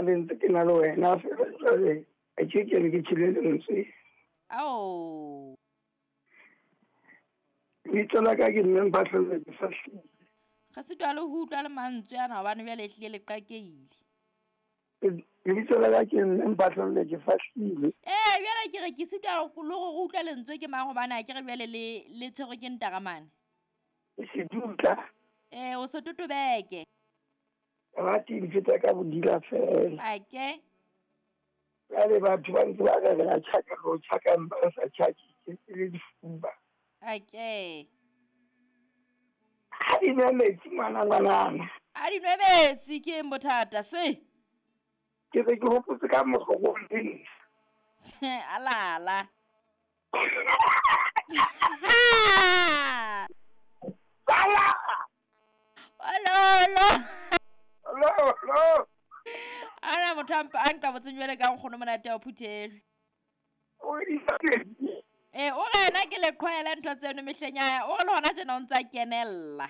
be ntse ke na le wena fela jwale a ke ke ne ke tjhele lentswe. Ao. Lebitso la ka ke mme Mphahlele ke Fahlile. Re sitwa le ho utlwa le mantswe ana hobane jwale ehlile le qakeile. Lebitso la ka ke mme Mphahlele ke Fahlile. Ee, jwale ke re ke sitwa le gore re utlwa lentswe ke mang hobane ha ke re jwale le le tshwerwe ke ntaramane. Ke sedutla. Ee, o se totobeke. Rate di feta ka bodila fela. Ake. Jwale batho ba ntse ba re re a tjhaka re o tjhaka empa re sa tjhake ke le difuba. Ake. Ha di nwe metsi ngwana ngwanana. A di nwe metsi ke eng bothata se? Ke se ke hopotse ka mokgwa o leng. Alala. Sala! Ololo. Lolo! Ana motho a mpa a nka botseng jwale ka nkgono monate wa phuthelwe. O di sa metsi. Ee, o re yena ke leqhwaela ntho tseno mehleng ya hae, o re le hona tjena o ntse a kenella.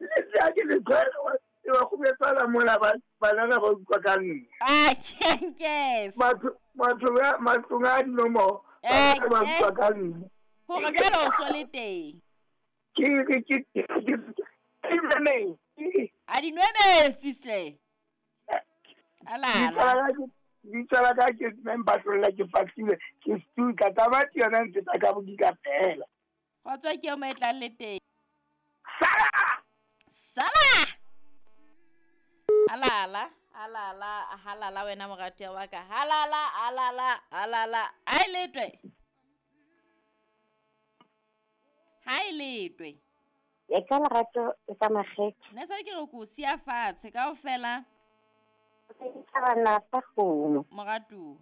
Le tse ke le tshwere wa wa kgobetsana mola ba banana ba utlwa ka nna. Ah, kenkes. Batho batho ba matlong a dinomoro Eh, ba eh. utlwa ka nna. Hore jwale o so le teng. Ke ke ke ke ke metsi. A di nwe metsi hle. Alala. Lebitso la ka ke mme Mphahlele ke Fahlile ke setutla tamati yona e mfeta ka bodila fela. Kgotso ke eo mo e tlang le teng. Sala! Sala! Alala, alala, halala wena moratuwa wa ka. Halala, alala, alala. Ha e letwe. Ha e letwe. E ka lerato e ka makgethe. Nna se ke re ko siya fatshe kaofela. Dithabana tsa kgomo. Moratuwa.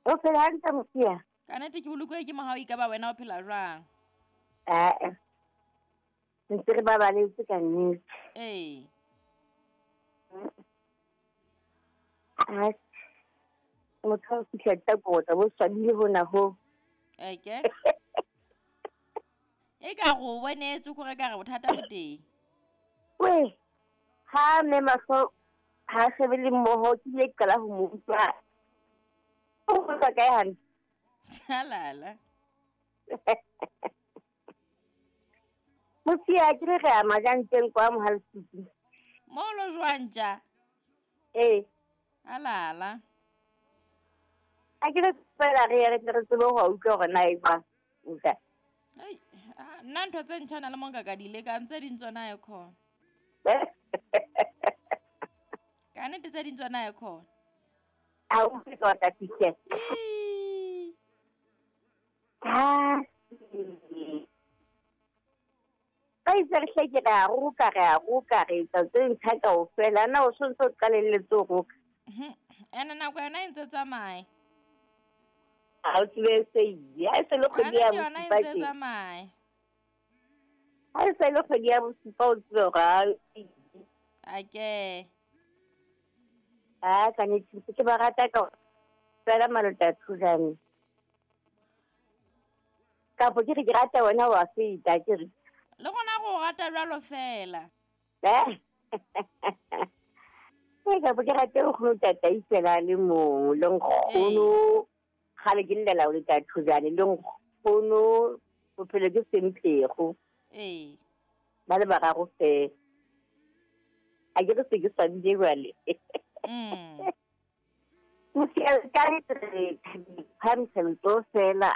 O phela hantle Mosia? Ka nnete ke bolokuwe ke mohau ekaba wena o phela jwang? Ae. Ntse re babaletse ka nnete. Ee. Atjhe. Motho ha o fihla Takota bo swabile hona ho. Eke. E ka re o bonetse kore ka re bothata bo teng. We, ha mme mahlo ha shebe le mmoho ke ile ka qala ho mo utlwa. O utlwa kae hantle? Alala. Mosia ke re re ya majanteng kwa Mohalesiki. Mo lo jwang tja? Ee. Alala. A ke re fela re ye re tle re tsebe ho utlwa hore na e jwang. Nka. Ai, nna ntho tse ntjha na le mo nka ka di lekang tse ding tsona e khona. Ka nnete tse ding tsona e khona. Ha o utlwe ka tla fihla. Ii. Ha. Ba itse re hle ke re a roka re a roka re etsa tse ntjha kaofela. Na o sontso o qalelletse ho roka? Ene nako yona e ntse tsamaye. Ha o tsebe se ile. Ha e se le kgwedi ya Ka nnete yona e bosupa ntse tje. tsamaye. Ha e se le kgwedi ya bosupa o tsebe hore ha e ile. Ake. Ah, ka nnete ke ba rata ka fela malota a thujane. Kapo ke re ke rata wena wa feta ke re. Le rona re o rata jwalo fela. Eh. Ke kapo ke rate nkgono tatai fela le mong le nkgono. Kgale ke llela o le thujane le nkgono bophelo ke semphego. Ee. Ba le bararo fela. A ke re se ke swabile jwale. Mosia ka re phamisa letsoho fela.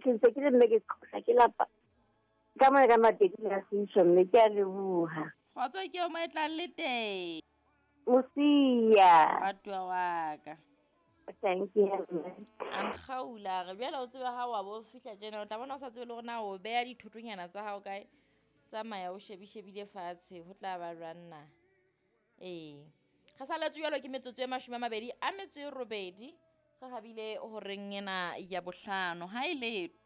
Ke ntse ke le mme ke qhosa ke lapa. Ka mona ka mateki a sisho mme ke a leboha. Kgotso ke eo mo e tlang le teng. Mosia. Moratuwa wa ka. Thank you. A nkgaula re bjale o tsebe ha wa bo fihla tjena o tla bona o sa tsebe le hore na o beha dithotonyana tsa hao kae. Tsamaya o shebishebile fatshe ho tla ba jwang na. Ee. Re saletswe jwalo ke metsotso e 28 re habile horeng ena ya bohlano. Ha e letho.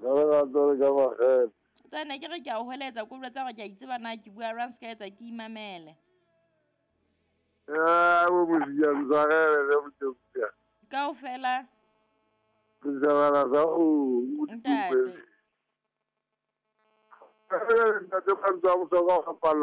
Ka lerato le ka makgethe. Tsena ke re ke a o hweletsa ko jwetsa hore ke a itseba na ke bua jwang se ka etsa ke imamele. Eh, bo Mosia ntshwarele le Mosia. Kaofela. Ke thabela sa o Ntate. Ntate Mantswe a bohlokwa ho bapalla